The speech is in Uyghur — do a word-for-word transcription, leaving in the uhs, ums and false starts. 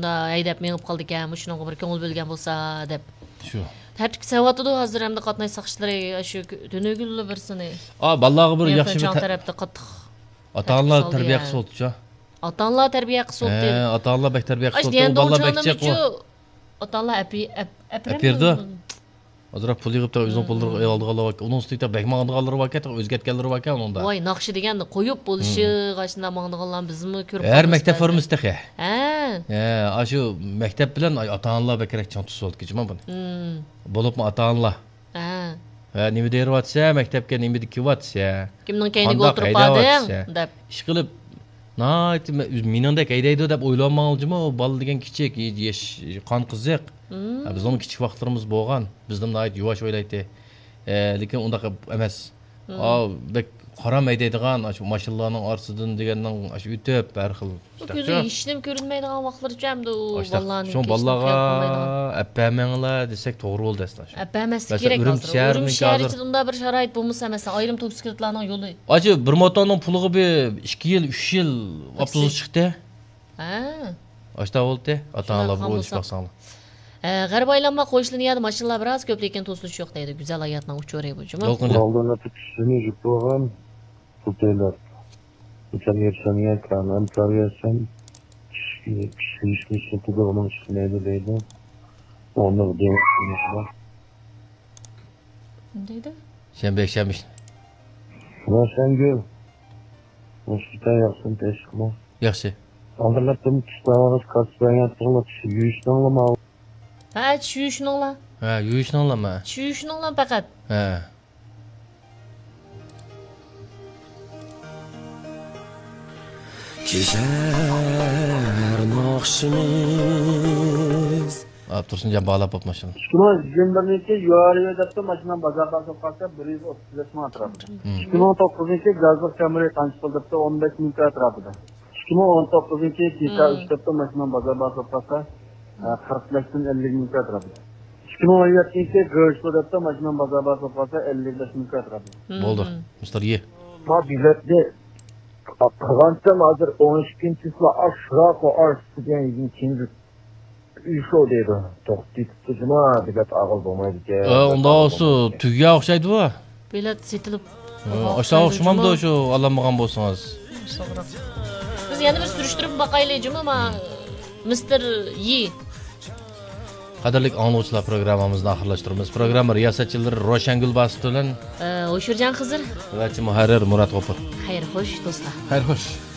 ھەيدەپ مېڭىپ قالىدىكەن، مۇشۇنىڭغا بىر كۆڭۈل بۆلگەن بولسا دەپ. شۇ. تەرتىپكە سېلىۋاتىدۇ ھازىر ئەمدى قاتناش ساقچىلىرى، شۇ تۈنۈگۈنلا بىرسىنى. ئا، بالىلارغا بىر ياخشى بىر چاڭ تە-، تەرەپتە قاتتىق ئاتا-ئانىلار تەرتىپ سالدى تەربىيە يا. قىلسا بولدۇچۇ. ئاتا-ئانىلار تەربىيە قىلسا بولدى. ھە، ئاتا-ئانىلار بەك تەربىيە قىلسا بولدى. ئاش دېگەن ئۇ بالىلار بەك جىق دۇڭچىڭلىمىچۇ؟ ئۇ. ئاتا-ئانىلار ئەپى-، ئەپ-، ئەپ بېرىدۇ. ئەپەرمەيدۇ. ئازراق پۇل يىغىپ، تېخى ئۆزىنىڭ پۇللىرىغا ئالىدىغانلار بار. ئۇنىڭ ئۈستىگە تېخى بەك ماڭىدىغانلار باركەن، تېخى ئۆزگەرتكەنلىرى باركەن ئۇنىڭدا. ۋاي، ناخشا دېگەننى قويۇپ بولۇشىغا شۇنداق ماڭىدىغانلار بىزمۇ كۆرۈپ ھەر قالدۇق مەكتەپ بەزىدە. فورمىسى تېخى. ھە. ھە، ئاشۇ مەكتەپ بىلەن ئاتا-ئانىلار بەكرەك چىڭ تۇتسا بولىدىكەن جۇمۇ بۇنى. بولۇپمۇ ئاتا-ئانىلار. ھە. ھە، نېمە دەيدىۋاتىسە، مەكتەپكە نېمە كېلىۋاتىسە. كىمنىڭ كەينىگە قانداق ئولتۇرۇپ باردىڭ؟ ھەيدەۋاتىسە. دەپ. ئىشقىلىپ، ناھايىتى مە-، مېنىڭدەك ھەيدەيدۇ دەپ ئويلىماڭلار جۇمۇ، ئۇ بالا دېگەن كىچىك، ياش، قان قىزىق. ھە، بىزنىڭ كىچىك ۋاقىتلىرىمىز بولغان. بىزنىڭ ناھايىتى يۇۋاش ئويلايتتى. ئە، لېكىن ئۇنداق ئەمەس. ئا، بەك قارام ھەيدەيدىغان، ئاشۇ ماشىنىلارنىڭ ئارىسىدىن دېگەننىڭ ئاشۇ ئۆتۈپ، ھەر خىل بۇ كۆزى ھېچنېمە كۆرۈنمەيدىغان ۋاقىتلىرىچۇ ئەمدى ئۇ ئاشۇنداق. بالىلارنى شۇڭا بالىلارغا ئەپ بەرمەڭلار دېسەك توغرا بولدى ئەسلى. ئەپ بەرمەسلىك كېرەك ھازىر. ئۈرۈمچى شەھىرى ئىچىدە ئۇنداق بىر شارائىت بولمىسا، مەسىلەن، ئايرىم توكسىكلىتلارنىڭ يولى. ئاشۇ بىر موتورنىڭ پۇلىغا بىر ئىككى يىل، ئۈچ يىل ئاپتوبۇس چىقتى. ھە. ئاشتا بولدى. ئاتا-ئانىلار بۇ ئۆلۈشۈپ باقساڭلار. ھە، غەربىي ئايلانما قويۇشلىرىنى يەردە ماشىنىلار بىراز كۆپ، لېكىن توسۇلۇش يوق دەيدۇ. گۈزەل ھاياتنىڭ ئۇچۇرى بۇ جۇمۇ. يالقۇنجان. ئالدىن ئۆتۈپ چۈشىنى يۈك بولغان. بۇ دۆلەت. مىسال يەرسەنگە كان ئەمسال يەرسەن. كىشىلىشمىشنى تۇدۇغىنىڭ چىقمايدۇ دەيدۇ. ئۇنىڭ دېڭىز. نېمە دەيدۇ؟ شەنبە، يەكشەنبە. روشەنگۈل. مۇشۇ ياخشىمۇ تېشىقمۇ؟ ياخشى. ئالدىرلاتتىم، تۇتساڭىز، كاسساڭىز، تۇغلا چۈشى يۇيۇشنىڭلىما؟ ھە، چۈشى يۇيۇشنىڭلا. ھە، يۇيۇشنىڭلىما؟ چۈشى يۇيۇشنىڭلا پەقەت. ھە. كېچە ھەر ناخشىمىز. ئاپتورسىنجان بالا بوپمۇ شۇ. ئىككى مىڭ يىگىرمە بىرىنچى يۈەنرى دەپتۇ ماشىنام بازاردا سوققانسا بىر يۈز ئوتتۇز بەش مىڭ ئەتراپىدا. مم. ئىككى مىڭ توققۇزىنچى گازلىق كامرى قانچە پۇل دەپتۇ ئون بەش مىڭ ئەتراپىدا. ئىككى مىڭ ئون توققۇزىنچى جىتا مم. ئۈچ دەپتۇ ماشىنام بازاردا سوققانسا، ئە، قىرىق بەشتىن ئەللىك مىڭ ئەتراپىدا. ئىككى مىڭ ئون يەتتىنچى گرشلو دەپتۇ ماشىنام بازاردا سوققانسا ئەللىك بەش مىڭ ئەتراپىدا. مم. بولدى. مىستېر يې. ما بېلەتنى قىلغانتىم ھازىر ئون ئىككىنچى چىسلا ئاشۇراق ئارىسىدا دېگەن يىگىرمە ئىككىنچى ئۈچ دەيدۇ. توختىتىپتۇ جۇما، بېلەت ئاغىل بولمايدىكەن. ئە، ئۇنداق بولسا تۈگىگە ئوخشايدۇ بۇ. بېلەت سېتىلىپ. ئاشۇ ئوخشىمامدۇ شۇ ئالالمىغان بولسىڭىز؟ بىز يەنە بىر سۈرۈشتۈرۈپ باقايلى جۇما، ما مىستېر يى. قەدىرلىك ئاڭلىغۇچىلار، پروگراممىمىزنى ئاخىرلاشتۇرىمىز. پروگرامما رىياسەتچىلىرى روشەنگۈل باسىت بىلەن، ئە، ھوشۇرجان خىزىر ۋە مۇھەررىر مۇرات غوپۇر. خەير خوش دوستلار. خەير خوش.